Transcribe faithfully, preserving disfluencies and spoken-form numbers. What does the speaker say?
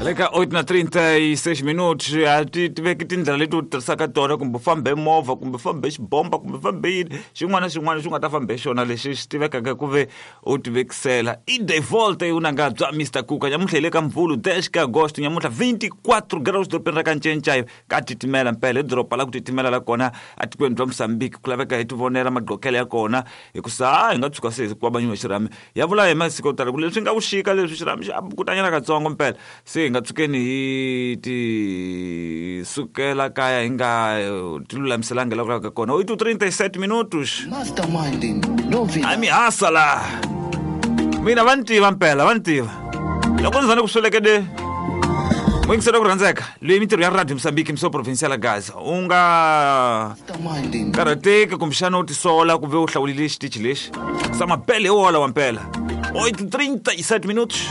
Le ka oito na trinta e seis minutos, a ti tiveki tindlela leti u tirhisaka tona, kumbe fambe movha, kumbe fambe xibomba, kumbe fambe yini, xin'wana na xin'wana xi nga ta fambe xona lexi xi tivekaka ku ve u tivekisela. I de volta i unanga bya Mister Kuka nyamuntlha hi le ka Mvhulu dez ka agosto nyamuntlha vinte e quatro graus dorobeni ra ka Ncencai ka titimela mpela hi doroba la ku titimela la kona atikweni bya Mozambique ku laveka hi tivonela maqokelo ya kona hikusa hi nga tshuka se hi kwabanyiwa xirhami ya vula hi masiku yo tala ku leswi nga vuxika leswi xirhami xi kutanyana katsongo mpela se hi nga tsukeni hi ti sukela kaya hi nga ti lulamiselanga la ku laveka kona. Oito trinta e sete minutos. Masterminding novidade. A mi hasa la. Mina va ni tiva mpela, va ni tiva. Loko ndzi zane ku sweleke de Muyingiseri wa ku rhandzeka leyi mintirho ya Radio Mozambique mso provincial Gaza u nga Masterminding karhateki kumbexana u tisola ku ve u hlawulile xitichi lexi sa mapele hi wola wa mpela. Oito trinta e sete minutos.